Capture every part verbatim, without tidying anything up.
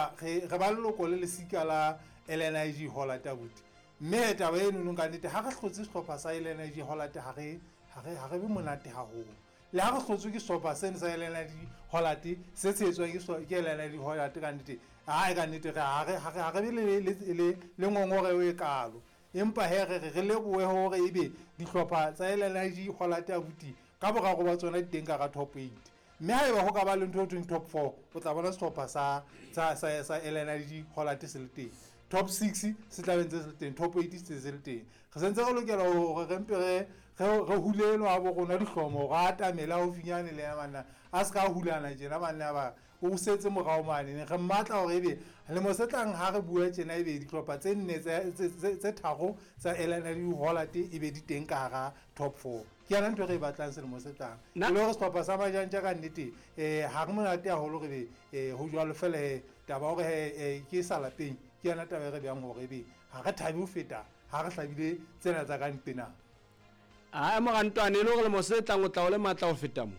hoba re re ba leloko le lesika la L N I G Hollard, abuti. Mme taba eno ka nnete, ha re hlotse sehlopha sa L N I G Hollard, ha re ha re ha re be monate haholo. Le ha re hlotswe ke sehlopha seno sa L N I G Hollard, se tshehetswang ke sehlo- ke L N I G Hollard, ka nnete hai, ka nnete re ha re ha re ha re be le le le le ngongoreho e kalo. Empa he, re re re lebohe hore ebe dihlopha tsa L N I G Hollard, abuti, ka boraro ba tsona di teng ka hara top eight. Mme haeba ho ka ba le ntho e thweng top four, o tla bona sehlopha sa sa sa sa L N I G Hollard se le teng, top six se tla be ntse se le teng, top eight se se le teng. Re sentse re lokela hore re mpe re re re hulelwa bo rona dihlomo hore a atamele haufinyane le ya banna, a se ka hulana tjena banna ba o setse morao mane. Re mmatla hore ebe lemo se tlang ha re bua tjena, ebe dihlopha tse nne tse tse tse tharo tsa L N I G Hollard e be di teng ka hara top four. Ke yona ntho e re e batlang selemo se tlang. Na- e le hore sehlopha sa Majantja ka nnete, um ha re monate haholo re be um ho jwalo fela. He, taba hore he ke sa lapeng, ke yona taba e re beyang hore ebe ha re thabe ho feta ha re hlabile tsena tsa ka ntena. A morantwane, e le gore lemo se tlang o tla o le matla ho feta mo?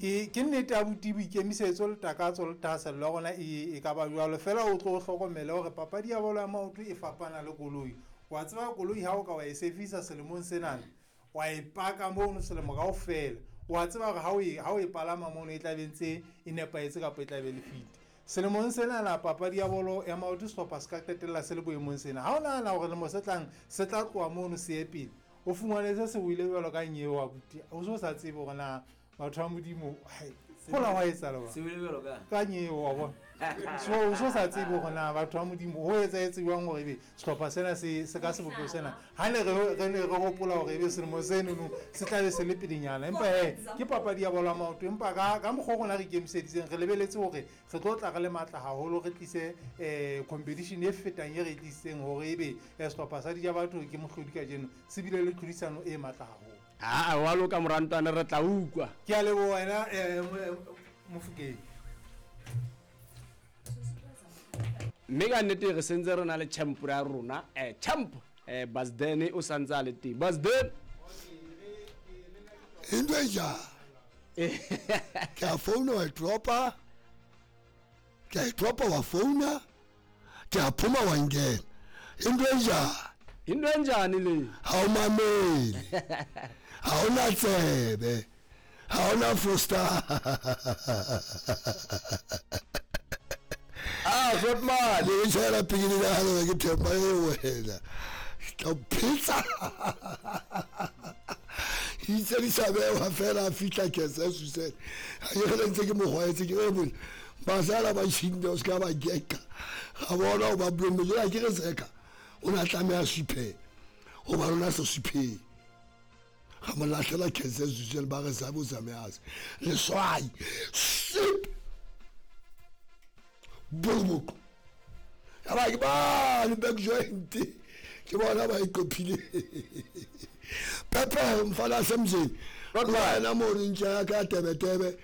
ke ke nnete, abuti. Boikemisetso le takatso le thahasello ya rona e e ka ba jwalo fela. O tlo o hlokomele hore papadi ya bolo ya maoto e fapana le koloi. Wa tseba, koloi ha o ka wa e servisa selemong senana, wa e paka mono selemo kaofela, wa tseba hore ha o e ha o e palama mono, e tla be ntse e nepahetse kapa e tla be le fit. Selemong senana papadi ya bolo ya maoto, sehlopha se ka qetella se le boemong sena. Ha o nahana hore lemo se tlang se tla tloha mono se ye pele, o fumane se se wile jwalo ka nyeo, abuti, o so sa tsebe hore na batho ba Modimo, hai, hola hwa etsahala ba Se wile jwalo ka ka nyeo, wa bona. So o so sa tsebe hore na batho ba Modimo, ho etsahetse jwang hore ebe sehlopha sena se se ka sebopeho sena, ha ne re re ne re hopola hore ebe selemo senono se tla be se le pelenyana. Empa he, ke papadi ya bolo ya maoto. Empa ka ka mokgwa o rona re ikemiseditseng, re lebeletse hore re tlo tla re le matla haholo, re tlise um competition e fetang e re e tlisitseng, hore ebe eh, sehlopha sa Dijabatho ke mohlodi kajeno se bile le tlhodisano e matla haholo. Aa, wa loka, morantwane, re tla utlwa. Ke a leboha wena, um Mofokeng. Mme ka nnete re sentse re na le champ ya rona, um champ um Basden o santse a le teng. Basden. Into enjani? Ke a founa, wa e dropa. Ke a e dropa, wa founa. Ke a phuma, wa nkena. Into enjani? Into enjani le? Ha o mamele, ha ona tsebe, ha ona foster. Ah, Grootman. Le tshela pikiri ka hare, ke themba e wena ke tla o phetsa itse di sa bewa fela. A fitlha kese susele, ga ke gele ntse ke mogwaetse, ke re bone basala ba tšhinde, o se ka ba geka ga bona o ba blomme jela. Ke re seka o ne a tlameha suphela gobane o ne a sa suphele, ga mo latlhela kese susele, ba re sabe o tsamease leswai sip boroboko ya ba ke bane back joint, ke bona ba e qophile pepe mfana semzeni wena mo re ntša ya ka tebetebe.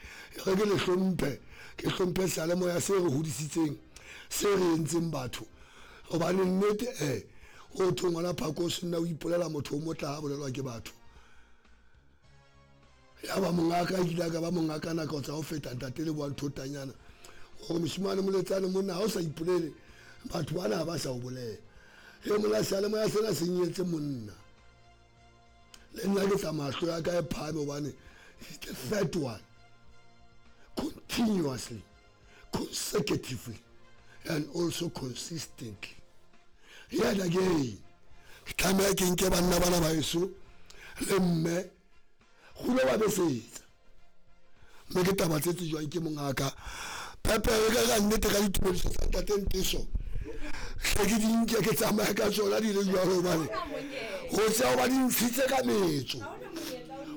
Re ke le hlomphe, ke hlomphe seyalemoya se re hodisitseng, se re entseng batho, gobane nnete e o thwe ngwana phako o senna o ipolela motho o motla ha bolelwa ke batho. Ya ba mongaka kile ka ba mongaka nako tsa ho feta ntate le boang thotanyana gore moshimane moletsane monna ha o sa ipolele, batho bana ha ba sa o bolela. E mona seyalemoya sena se nyetse monna le nna ke tsamaya hlo ya ka e phahame, gobane it's the third one continuously, consecutively and also consistently. Yet again ke tlameha ke nke banna bana ba eso le mme golo ba besetsa, mme ke taba tse tsejwang ke mongaka pepere ka ka nnete ka ditumediso tsa ntate Nteso hle ke di nke ke tsamaya ka tsona di le jwalo, gobane go tsea ba di ntshitse ka metso.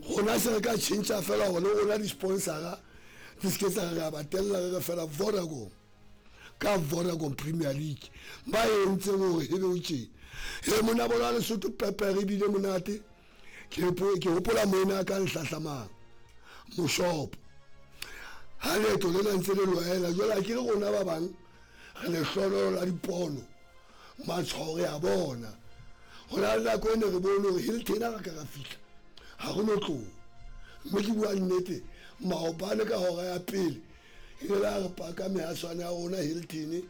Rona se re ka tšhentšha fela gore le rona di-sponsora di se ke tsa re a ba tella, re re fela Vodacom ka Vodacom Premier League ba entseng gore e be o tjena. E mona bona Lesotho pepere ebile monate. Ke ke hopola moena ka ntlhahlamang moshopo ha leeto lena ntse le loela jwale, a ke re rona ba bang re lehlonolo la dipono, matshwao re a bona. Go na le nako e ne re bone gore Hilton ga ka ra fitlha ga go no tloga, mme ke bua nnete, maobane ka hora ya pele ile la re paka mehaswane ya rona Hilton.